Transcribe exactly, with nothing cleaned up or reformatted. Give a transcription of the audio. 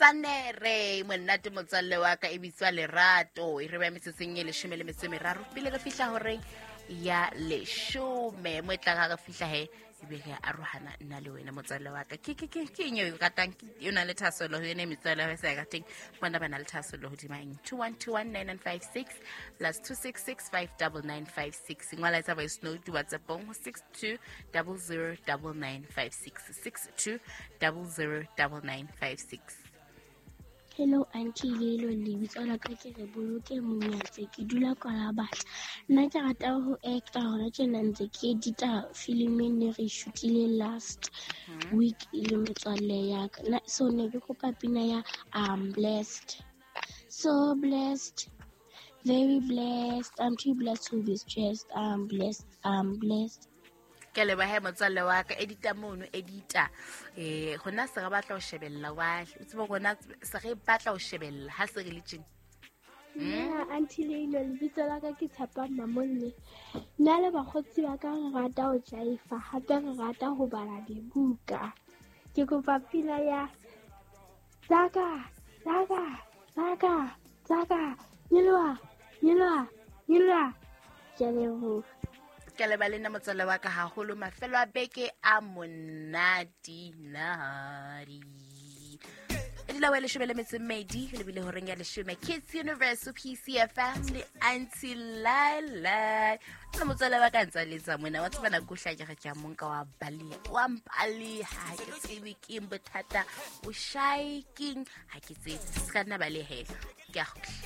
Sanere monate motswalle wa ka e bitswa Lerato. E re ba metsotsong e leshome le metso e meraro pele re fihla horeng ya leshome. Mo e tlang ha re fihla he ebe re arohana nna le wena motswalle wa ka. Ke ke ke ke eng eo o ratang? O na le thahasello ho yona metswalle ya sa e rateng. Bona ba na le thahasello hodima eng? two one two one nine nine five six plus two six six five double nine five six. Ngwala etsa voice note WhatsApp-ong ho six two double zero double nine five six six two double zero double nine five six. Hello Auntie Lelo, lebitso la ka ke re Boloke Monyatse, ke dula Kwalabatla. Nna ke rata ho acta hona tjena ntse ke edita film e ne re shootile last week le metswalle ya ka. Nna so ne ke kopa pina ya I'm blessed. So blessed, very blessed. I'm too blessed to be stressed. I'm blessed, I'm blessed. Ke leboha motswalle wa ka edita mono edita eh gona se re batla ho shebella wa o tsebe rona se re batla ho shebella ha se re le tjena. Nna Auntie Leilo, lebitso la ka ke Tshepang Mamolle. Nna le bakgotsi ba ka re rata ho jaifa, hape re rata ho bala dibuka. Ke kopa pina ya Tsaka, Tsaka, Tsaka, Tsaka, nyoloha, nyoloha, nyoloha. Ke a leboha. Ke leba le nna motswalle wa ka haholo mafelo a beke a monate nadi. E dula wa leshome le metso e mmedi le bile horeng ya leshome Kids Universe P C F M le Auntie Laila. Le motswalle wa ka ntsa letsa mona wa tseba nako hla ke re ke a monka wa baleha wa mpaleha ha ke tsebe ke eng bothata o shy keng ha ke tsebe se ka nna balehe ke a kgutla.